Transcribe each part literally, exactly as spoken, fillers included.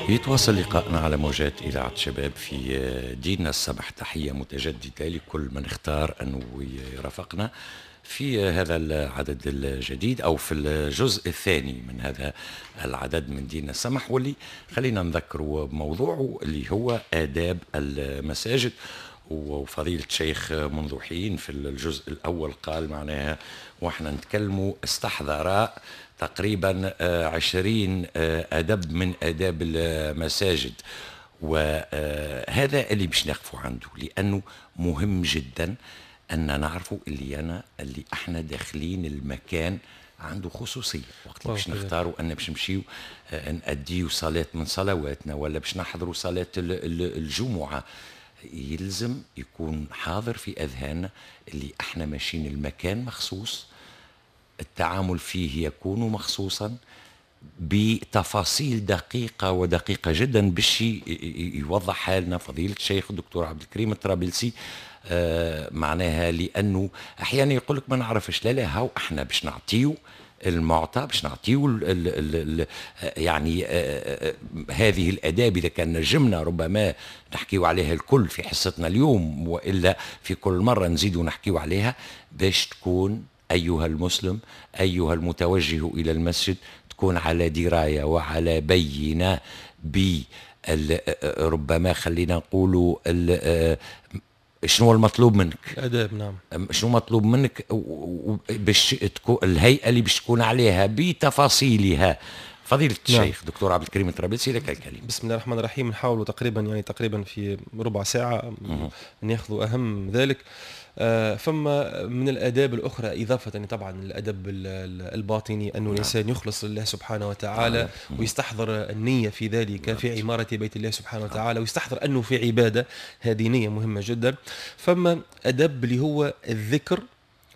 يتواصل لقائنا على موجات إذاعة شباب في ديننا السمح. تحية متجددة لكل من اختار أنه يرافقنا في هذا العدد الجديد أو في الجزء الثاني من هذا العدد من ديننا السمح، واللي خلينا نذكر بموضوعه اللي هو آداب المساجد. وفضيلة الشيخ منذ حين في الجزء الأول قال معناها وإحنا نتكلموا استحضر تقريبا عشرين أدب من آداب المساجد، وهذا اللي باش نقفوا عنده لأنه مهم جدا أن نعرفوا اللي أنا اللي احنا داخلين المكان عنده خصوصية. وقت اللي باش نختاروا أن باش نمشيو نأديو صلاة من صلواتنا ولا باش نحضروا صلاة الجمعة، يلزم يكون حاضر في أذهاننا اللي احنا ماشيين المكان مخصوص، التعامل فيه يكون مخصوصا بتفاصيل دقيقة ودقيقة جدا باش يوضح حالنا فضيلة الشيخ الدكتور عبد الكريم الطرابلسي. آه معناها لأنه أحيانا يقول لك ما نعرفش، لا لا هاو احنا باش نعطيو المعطى، باش نعطيو ال ال ال يعني آه هذه الآداب إذا كان نجمنا ربما نحكيو عليها الكل في حصتنا اليوم، وإلا في كل مرة نزيدو نحكيو عليها باش تكون أيها المسلم أيها المتوجه إلى المسجد تكون على دراية وعلى بينة ب ربما خلينا نقولوا شنو المطلوب منك؟ الآداب. نعم، شنو مطلوب منك باش تكون الهيئة اللي باش تكون عليها بتفاصيلها. فضيلة الشيخ نعم. دكتور عبد الكريم الطرابلسي لك الكلمة. بسم الله الرحمن الرحيم. نحاولوا تقريبا يعني تقريبا في ربع ساعة ناخذ أهم ذلك. آه فما من الآداب الأخرى إضافة طبعا الأدب الباطني، أنه الإنسان يخلص لله سبحانه وتعالى ويستحضر النية في ذلك في عمارة بيت الله سبحانه وتعالى، ويستحضر أنه في عبادة، هذه نية مهمة جدا. فما أدب اللي هو الذكر،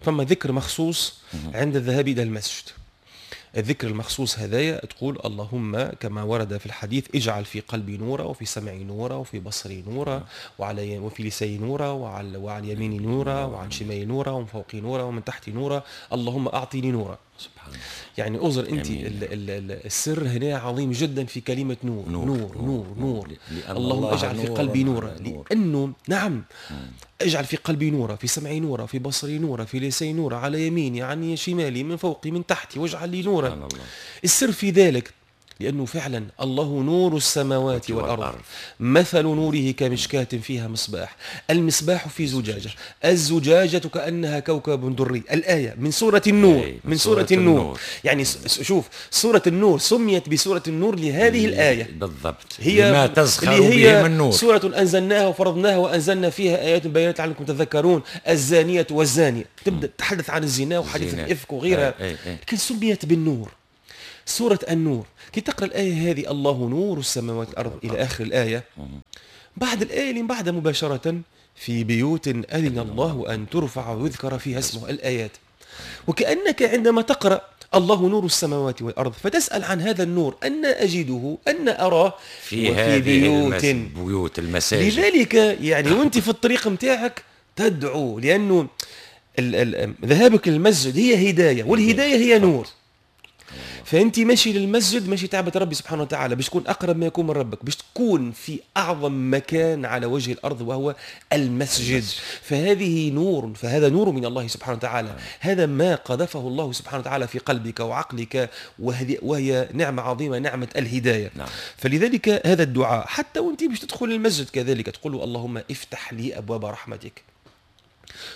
فما ذكر مخصوص عند الذهاب إلى المسجد. الذكر المخصوص هذايا تقول اللهم كما ورد في الحديث اجعل في قلبي نورا وفي سمعي نورا وفي بصري نورا وعلى وفي لساني نورا وعلى وعن يميني نورا وعن شمالي نورا ومن فوقي نورا ومن تحتي نورا، اللهم اعطيني نورا. سبحان الله. يعني أزر انت ال ال ال السر هنا عظيم جدا في كلمة نور نور نور نور, نور. اللهم اجعل في قلبي نورا، لانه نعم اجعل في قلبي نورا، في سمعي نورا، في بصري نورا، في لساني نورا، على يميني، عن شمالي، من فوقي، من تحتي، واجعل لي نورا. السر في ذلك لأنه فعلا الله نور السماوات والأرض، مثل نوره كمشكاة فيها مصباح، المصباح في زجاجة، الزجاجة كأنها كوكب دري. الآية من سورة النور، من سورة النور. يعني شوف سورة النور سميت بسورة النور لهذه الآية بالضبط، هي لما تزخر اللي هي به من نور. سورة أنزلناها وفرضناها وأنزلنا فيها آيات بينات لعلكم تذكرون، الزانية والزاني، تبدأ تتحدث عن الزنا وحديث الإفك وغيرها، لكن سميت بالنور، سورة النور. كي تقرأ الآية هذه الله نور السماوات والأرض إلى آخر الآية، بعد الآية اللي بعدها مباشرة في بيوت أذن الله أن ترفع ويذكر فيها اسمه، الآيات. وكأنك عندما تقرأ الله نور السماوات والأرض فتسأل عن هذا النور أن أجده، أن أراه في هذه بيوت بيوت المساجد. لذلك يعني وأنت في الطريق متاعك تدعو، لأنه ذهابك للمسجد هي هداية، والهداية هي نور. فانت ماشي للمسجد ماشي تعبد ربي سبحانه وتعالى باش تكون اقرب ما يكون من ربك، باش تكون في اعظم مكان على وجه الارض وهو المسجد. فهذه نور، فهذا نور من الله سبحانه وتعالى، هذا ما قذفه الله سبحانه وتعالى في قلبك وعقلك، وهذه وهي نعمه عظيمة، نعمه الهداية. نعم. فلذلك هذا الدعاء حتى وانت باش تدخل المسجد كذلك تقول اللهم افتح لي ابواب رحمتك.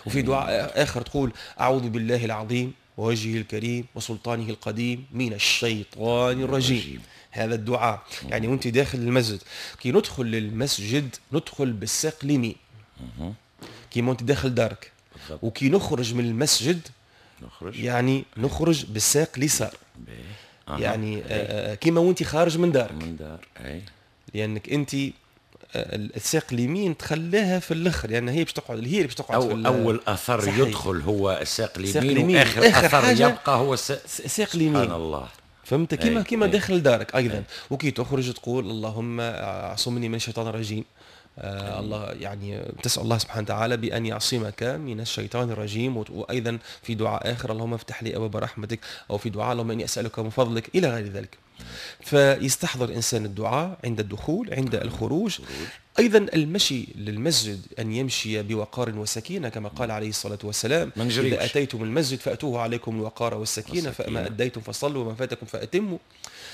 وفي دعاء اخر تقول اعوذ بالله العظيم ووجهه الكريم وسلطانه القديم من الشيطان الرجيم. هذا الدعاء يعني وانت داخل المسجد. كي ندخل للمسجد ندخل بالساق اليمين كيما انت داخل دارك، وكي نخرج من المسجد نخرج يعني نخرج بالساق اليسار، يعني كيما وانت خارج من دارك، من دار. أي. لانك انت الساق اليمين تخليها في الاخر، لان يعني هي باش تقعد، هي اللي باش تقعد. أو في اول اثر صحيح. يدخل هو الساق اليمين، واخر آخر اثر يبقى هو الساق الساق اليمين. سبحان الله. فهمت؟ كيما كيما داخل دارك ايضا. أي. وكي تخرج تقول اللهم اعصمني من الشيطان الرجيم. آه الله يعني تسأل الله سبحانه وتعالى بأن يعصمك من الشيطان الرجيم. وأيضا في دعاء آخر اللهم افتح لي أبواب رحمتك، أو في دعاء اللهم إني أسألك من فضلك إلى غير ذلك. فيستحضر الإنسان الدعاء عند الدخول، عند الخروج. أيضا المشي للمسجد أن يمشي بوقار وسكينة كما قال عليه الصلاة والسلام: إذا أتيتم المسجد فأتوه عليكم الوقار والسكينة، فما أديتم فصلوا وما فاتكم فأتموا.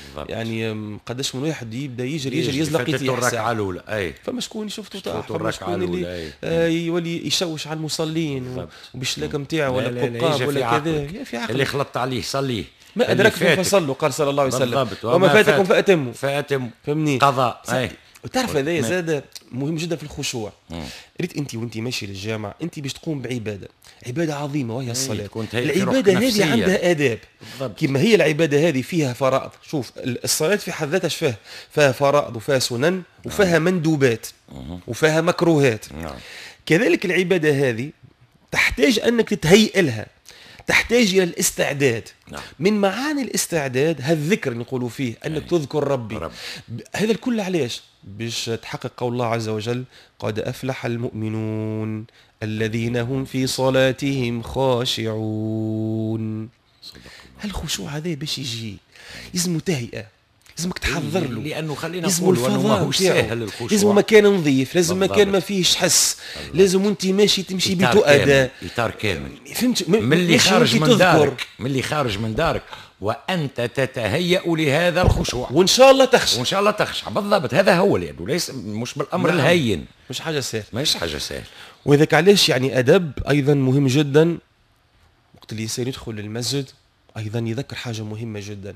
بالضبط. يعني قداش من واحد يبدا يجري يجري يزلق يطيح الركعة الاولى، اي فما شكون يشوف طاح، فما شكون اللي آه يولي يشوش على المصلين وبالشلاكه نتاعو ولا القبقاب ولا كذا. في عقلك اللي خلطت عليه صليه، ما ادركتم فصلوا، قال صلى الله عليه وسلم، وما فاتكم فاتموا. فاتموا، فهمني؟ قضاء. اي وتعرف هذا زاد مهم جدا في الخشوع. ريت انت وانت ماشي للجامع انت باش تقوم بعباده، عباده عظيمة وهي الصلاة. العبادة هذه عندها اداب، كما هي العبادة هذه فيها فرائض. شوف الصلاة في حد ذاتها فيها فيها فرائض وفيها سنن وفيها مندوبات وفيها مكروهات. كذلك العبادة هذه تحتاج انك تتهيئ لها، تحتاج الى الاستعداد. نعم. من معاني الاستعداد هالذكر اللي نقولوا فيه انك أي. تذكر ربي. رب. هذا الكل علاش؟ باش تحقق قول الله عز وجل: قد افلح المؤمنون الذين هم في صلاتهم خاشعون. هالخشوع هذا باش يجي لازم تهيئة، لازمك تحضر له، لانه خلينا نقول انه ماهوش ساهل الخشوع. لازم مكان نظيف، لازم مكان ما فيهش حس، لازم وانت ماشي تمشي بتؤدى، اطار كامل. فهمت؟ من اللي خارج من دارك، من اللي خارج من دارك وانت تتهيأ لهذا الخشوع، وان شاء الله تخشع، وان شاء الله تخشع. بالضبط، هذا هو، لانه ليس مش بالامر. نعم. الهين، مش حاجة سهلة، مش حاجة سهلة. وذاك علاش يعني ادب ايضا مهم جدا. وقت اللي الانسان يدخل للمسجد أيضا يذكر حاجة مهمة جدا: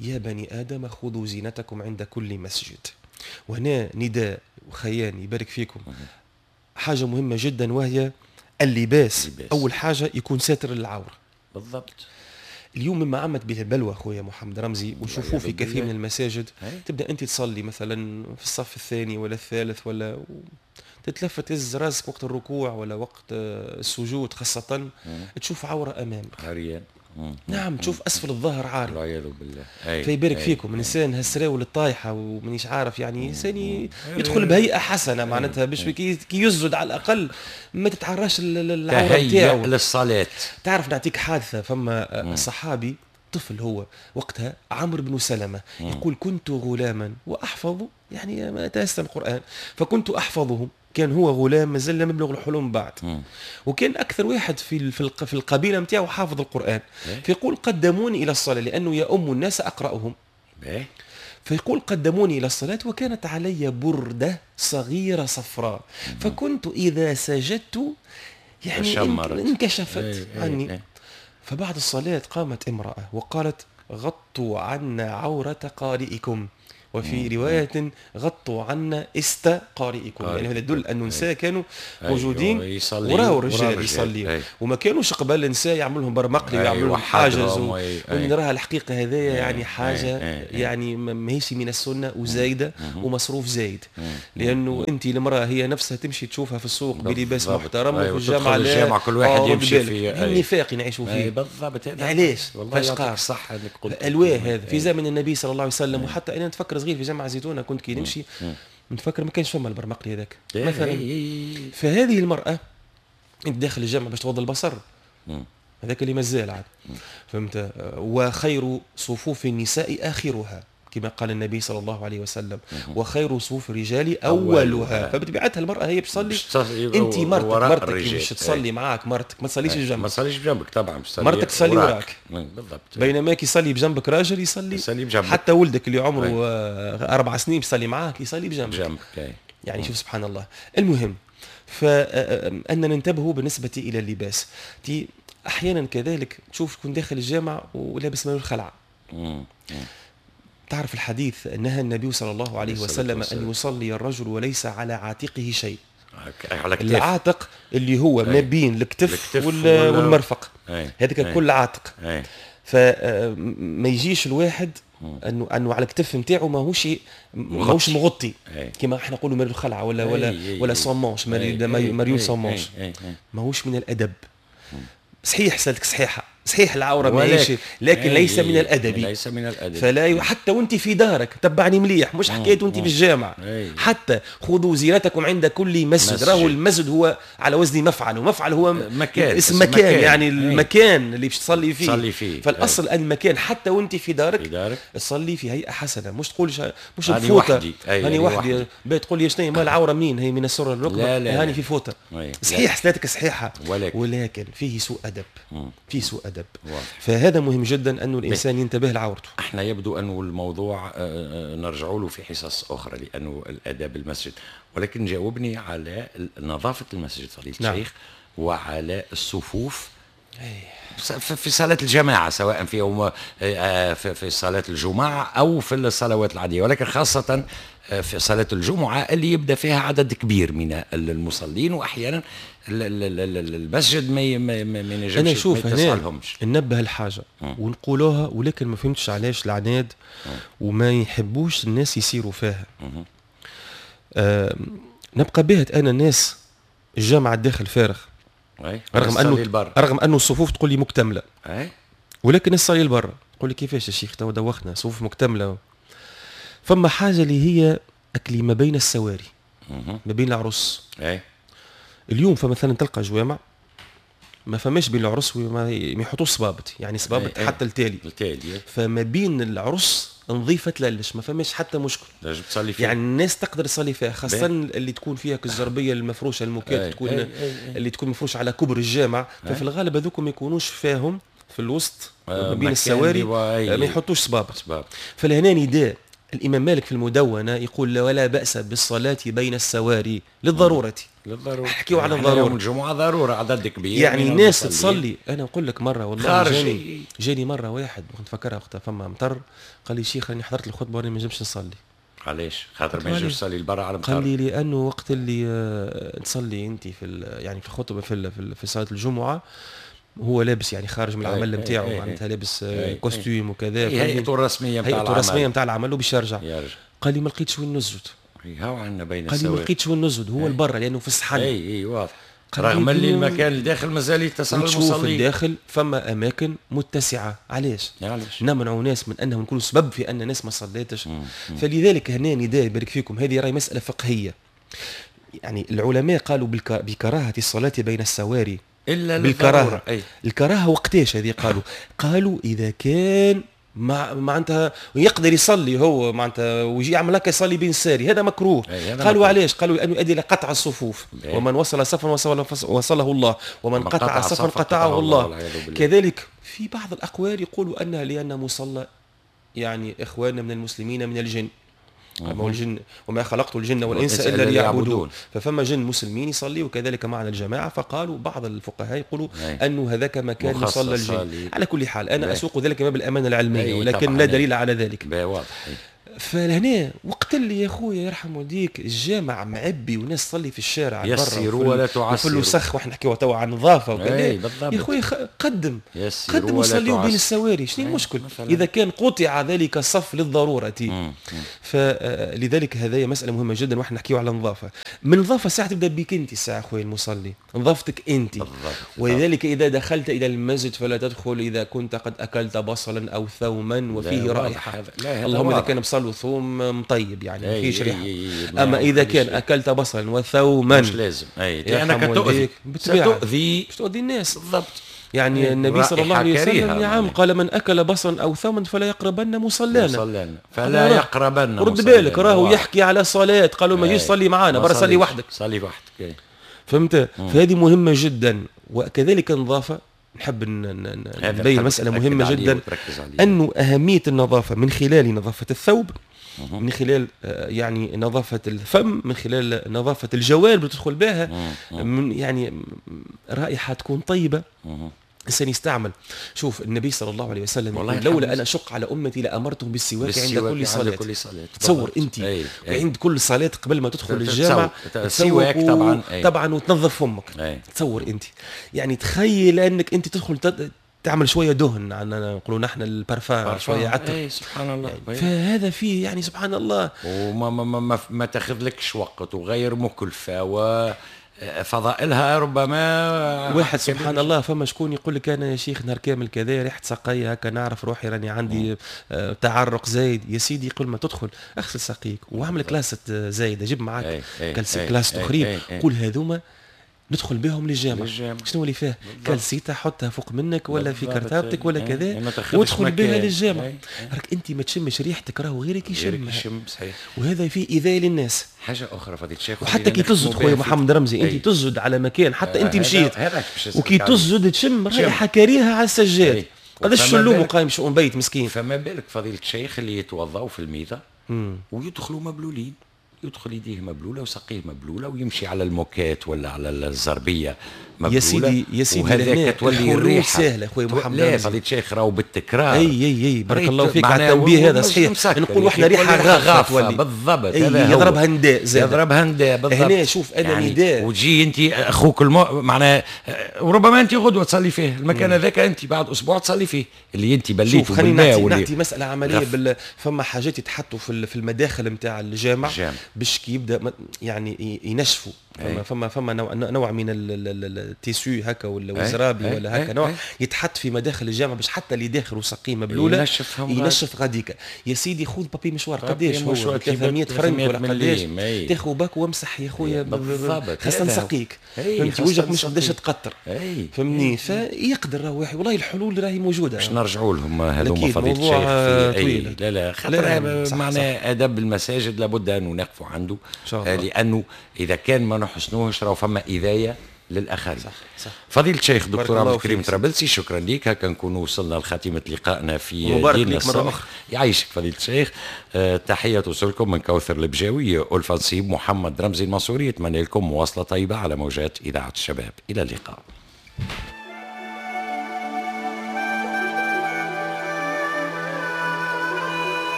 يا بني آدم خذوا زينتكم عند كل مسجد. وهنا نداء وخيان يبارك فيكم، حاجة مهمة جدا وهي اللباس. اللباس. أول حاجة يكون ساتر للعورة. بالضبط. اليوم مما عمت به البلوى أخويا محمد رمزي، ونشوفوه في كثير من المساجد، تبدأ أنت تصلي مثلا في الصف الثاني ولا الثالث ولا تتلفت تهز راسك وقت الركوع ولا وقت السجود خاصة، تشوف عورة أمامك. عريان. نعم، تشوف اسفل الظهر عاري، والعياذ بالله. أي. فيبارك أي. فيكم الانسان هالسراول الطايحه ومانيش عارف، يعني انسان يدخل بهيئة حسنه معناتها باش كي يسجد على الاقل ما تتعراش العورة نتاعو للصلاة. تعرف نعطيك حادثه، فما صحابي طفل هو وقتها عمرو بن سلمة، يقول كنت غلاما واحفظ، يعني ما تيسر القران فكنت احفظهم. كان هو غلام مازال لم يبلغ الحلم بعد، مم. وكان اكثر واحد في في القبيلة نتاعو حافظ القران. إيه؟ فيقول قدموني الى الصلاة لانه يؤم الناس اقراهم. إيه؟ فيقول قدموني الى الصلاة وكانت علي برده صغيرة صفراء، مم. فكنت اذا سجدت يعني انكشفت إيه عني. إيه. فبعد الصلاة قامت امراة وقالت: غطوا عنا عورة قارئكم، وفي رواية غطوا عنا است قارئكم. يعني هذا يدل أن النساء كانوا موجودين وراء الرجال يصليوا، وما كانوش قبل النساء يعملوا لهم برمقلي ويعملوا لهم حاجز. ونراها الحقيقة هذايا يعني حاجة يعني ماهيش من السنة وزايدة ومصروف زايد، لأنه أنت المرأة هي نفسها تمشي تشوفها في السوق بلباس محترم، وفي الجامعة الجامعة كل واحد يمشي في النفاق نعيشوا فيه. بالضبط. علاش؟ والله يعطيك الصحة انك قلت الواه هذا في زمن النبي صلى الله عليه وسلم. وحتى أنا نتفكر صغير في جامعة زيتونة كنت كي نمشي نتفكر ما كانش فما البرمقلي هذاك مثلا. فهذه المرأة انت داخل الجامعة باش تغض البصر، هذاك اللي مازال عاد، فهمت؟ وخير صفوف النساء آخرها كما قال النبي صلى الله عليه وسلم، وخير صفوف الرجال أولها. فبطبيعتها المرأة هي بتصلي، انت مرتك مرتك باش تصلي معاك، مرتك ما تصليش بجنبك، ما تصليش بجنبك طبعا، مرتك تصلي وراك. بالضبط. بينما كي يصلي بجنبك راجل يصلي, يصلي بجنبك، حتى ولدك اللي عمره أربع سنين يصلي معاك يصلي بجنبك, بجنبك. يعني شوف سبحان الله. المهم فأن ننتبهوا بالنسبة إلى اللباس. تي أحيانا كذلك تشوف تكون داخل الجامع ولابس مال الخلعة. تعرف الحديث نهى النبي صلى الله عليه وسلم أن يصلي الرجل وليس على عاتقه شيء. على العاتق اللي هو ما بين الكتف والمرفق، هذاك كل عاتق. فما يجيش الواحد انه انه على الكتف نتاعو ماهوش ماهوش مغطي كما احنا نقولوا مريول الخلعة ولا ولا ولا sans manches، مريول sans manches، ماهوش من الادب. صحيح سالتك صحيحه، صحيح العورة ماهيش، لكن ليس من الادب، ليس من الادب. فلا ي... حتى وانت في دارك تبعني مليح، مش حكاية وانت في الجامع. حتى خذوا زينتكم عند كل مسجد. راهو المسجد هو على وزن مفعل، ومفعل هو مكان، اسم مكان, مكان. يعني المكان اللي باش تصلي فيه, تصلي فيه. فالاصل أي. المكان حتى وانت في دارك, في دارك تصلي في هيئة حسنه، مش تقول مش بفوطه هاني وحدي. تقول لي شنو ما العورة منين هي؟ من السرة للركبه، هاني في فوطه. صحيح صلاتك صحيحه، ولكن, ولكن فيه سوء ادب، فيه سوء ادب. فهذا مهم جدا انه الانسان ينتبه لعورته. احنا يبدو انه الموضوع نرجع له في حصص اخرى لانه الاداب المسجد، ولكن جاوبني على نظافة المسجد فضيلة نعم. الشيخ، وعلى الصفوف في صلاة الجماعة، سواء في يوم في صلاة الجمعة أو في الصلوات العادية، ولكن خاصة في صلاة الجمعة اللي يبدأ فيها عدد كبير من المصلين، وأحيانا المسجد ما ما ينجمش. أنا شوف هنا ننبه الحاجة ونقولوها، ولكن ما فهمتش علاش العناد وما يحبوش الناس يسيروا فيها. آه نبقى بهت أنا الناس الجامعة الداخل فارغ، رغم انه رغم انه الصفوف تقول لي مكتملة، أي؟ ولكن الصلي البر تقول لي كيفاش يا شيخ تو دوخنا صفوف مكتملة. فما حاجة اللي هي اكلي ما بين السواري، ما بين العرس. أي؟ اليوم فمثلا تلقى جوامع ما فماش بين العرس وما يحطوش صبابط، يعني صبابط حتى التالي التالي، فما بين العرس نظيفة تلالش، ما فماش حتى مشكل، لازم تصلي فيها. يعني الناس تقدر تصلي فيها، خاصة اللي تكون فيها كالزربيه المفروشه الموكات تكون أي أي أي. اللي تكون مفروشه على كبر الجامع، ففي الغالب هذوك ما يكونوش فاهم في الوسط ما بين السواري ما يحطوش صبابط. فلهنا نداء الامام مالك في المدونة يقول ولا باس بالصلاة بين السواري للضرورة. للضرورة، حكيوا على الضرورة. يوم الجمعة ضرورة عدد كبير، يعني الناس تصلي. انا نقول لك مرة والله جاني جاني مرة واحد نتفكرها وقتها فما مطر، قال لي شيخ راني حضرت الخطبة وراني ما نجمش نصلي. علاش؟ خاطر ما ينجمش يصلي البرا على المطر. قال لي لانه وقت اللي تصلي انت في يعني في الخطبة في في صلاة الجمعة هو لابس يعني خارج من العمل نتاعو، معناتها لابس costume وكذا، هيئته الرسمية نتاع العمل، هيئته الرسمية نتاع العمل وباش يرجع. قال لي ما لقيتش وين نسجد. هاو عندنا بين السواري. قال لي ما لقيتش وين نسجد، هو البرا لانه في الصحن. اي اي واضح. رغم اللي المكان الداخل مازال يتسع المصلين. تشوف الداخل فما اماكن متسعه، علاش؟ علاش؟ نمنعوا ناس من انهم نكونوا سبب في ان ناس ما صلاتش. فلذلك هنا نداء يبارك فيكم، هذه راهي مسالة فقهية. يعني العلماء قالوا بكراهة الصلاة بين السواري الا بالكراهة. أي. الكراهة وقتاش هذه قالوا؟ قالوا اذا كان مع معناتها يقدر يصلي هو معناتها ويجي يعمل هكا يصلي بين الساري، هذا مكروه. هذا قالوا مكروه. علاش؟ قالوا لانه يؤدي الى قطع الصفوف. بيه. ومن وصل صفا وصله, وصله الله، ومن قطع, قطع صفا قطعه الله, الله. كذلك في بعض الاقوال يقولوا انها لان مصلى يعني اخواننا من المسلمين من الجن، ما الجن وما خلقت الجن والانس الا ليعبدون، ففما جن مسلمين يصلي وكذلك معنا الجماعة. فقالوا بعض الفقهاء يقولوا انه هذاك مكان مصلى الجن. على كل حال انا اسوق ذلك باب الامانة العلمية، ولكن لا دليل على ذلك. واضح. فلهنا وقت اللي يا خويا يرحم والديك الجامع معبي وناس تصلي في الشارع يسيروا ولا تعسروا وفي الوسخ، واحنا نحكيو توا عن نظافة وكذا. يا خويا قدم قدم وصليوا بين السواري، شنو المشكل اذا كان قطع ذلك الصف للضرورة؟ فلذلك هذه مسالة مهمة جدا، واحنا نحكيو على النظافة. من النظافة ساعة تبدا بك انت الساعة خويا المصلي، نظافتك انت. ولذلك اذا دخلت الى المسجد فلا تدخل اذا كنت قد اكلت بصلا او ثوما وفيه رائحة. اللهم اذا كان بصل وثوم مطيب يعني ما فيش ريحه، اما اذا كان اكلت بصلا وثوما مش لازم. اي لانك تؤذي، تؤذي باش تؤذي الناس بالضبط. يعني النبي صلى الله عليه وسلم نعم قال من اكل بصلا او ثوما فلا يقربن مصلانا، مصلانا فلا يقربن. رد بالك راهو يحكي على صلاة، قالوا ما يجيش صلي معانا، برا صلي وحدك، صلي وحدك. فهمت؟ فهذه مهمة جدا. وكذلك النظافة، نحب نبين مسألة مهمة جدا، أنه أهمية النظافة من خلال نظافة الثوب، من خلال يعني نظافة الفم، من خلال نظافة الجوارب اللي تدخل بها، من يعني رائحة تكون طيبة الإنسان يستعمل. شوف النبي صلى الله عليه وسلم يقول لولا أن أشق على أمتي لأمرتهم بالسواك عند كل صلاة. كل صلاة. تصور أنت أي. أي. عند كل صلاة قبل ما تدخل الجامع تسواك طبعا أي. طبعا وتنظف فمك. أي. تصور أنت يعني تخيل أنك أنت تدخل تد... تعمل شوية دهن، عندنا نقولوا نحن البارفان، شوية عطر. اي سبحان الله. يعني فهذا فيه يعني سبحان الله، وما ما ما, ما, ما تاخذ لكش وقت وغير مكلفة و فضائلها ربما واحد سبحان الله. فما شكون يقول لك انا يا شيخ نهار كامل كذا ريحه ساقيه هكا نعرف روحي راني عندي تعرق زايد. يا سيدي قبل ما تدخل اغسل ساقيك واعمل كلاسه زايدة، جيب معاك كلاسه اخرين، قول هذوما ندخل بهم للجامع. شنو اللي فيه؟ كالسيته حطها فوق منك ولا في كرتابتك ولا كذا وادخل بها للجامع. راك انت ما تشمش ريحتك، راهو غيرك يشم. صحيح. وهذا فيه ايذاء للناس. حاجة اخرى فضيلة الشيخ، وحتى كي تزد خويا محمد رمزي انت تزد على مكان حتى انت مشيت وكي تزد تشم رائحة كريهة على السجاد. قداش شلوم وقايم شؤون بيت مسكين. فما بالك فضيلة الشيخ اللي يتوضاو في الميضه ويدخلوا مبلولين، يدخل يديه مبلوله وساقيه مبلوله ويمشي على الموكات ولا على الزربيه مبلوله. يا سيدي يا سيدي وهذاك تولي الريحة سهلة خويا محمد. لا فضيلة الشيخ راهو بالتكرار. اي اي اي بارك الله فيك على التنبيه هذا صحيح. نقولوا احنا ريحه غافه بالضبط. هذا يضربها نداء زاد. يضربها نداء بالضبط. هنا شوف انا يعني نداء وتجي انت اخوك المو... معناها وربما انت غدوه تصلي فيه المكان هذاك، انت بعد اسبوع تصلي فيه اللي انت بليته بالماء. واللي نعطي مسالة عملية بال... فما حاجات يتحطوا في في المداخل نتاع الجامع باش كي يبدا يعني ينشفوا. فما فما فما نوع, نوع من ال tissu هكا ولا الزرابي ولا هكا نوع يتحط في مداخل الجامع باش حتى اللي داخل وسقيه مبلوله ينشف ينشف غاديكا. يا سيدي خذ papier mouchoir قداش هو ثلاثمية فرنك ولا قداش، تاخذ باك وامسح يا خويا خاصة نسقيك فهمتي وجهك مش قداش تقطر فهمني. فيقدر راه واحد والله الحلول راهي موجودة. باش نرجعوا لهم هذوما فضيلة الشيخ في لا لا خاطر معناها ادب المساجد لابد ان نقفوا عنده، لانه اذا كان ما نحسنوهش راهو فما اذايه للاخرين. صح صح. فضيلة الشيخ دكتور عبد الكريم طرابلسي شكرا لك. هكا نكونوا وصلنا لخاتمه لقائنا في مبارك لك مرة اخرى. يعيشك فضيلة الشيخ. أه تحية توصلكم من كوثر البجاوي، ألفة نصيب، محمد رمزي المنصوري. اتمنى لكم مواصلة طيبة على موجات اذاعة الشباب. الى اللقاء.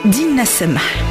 ديننا السمح.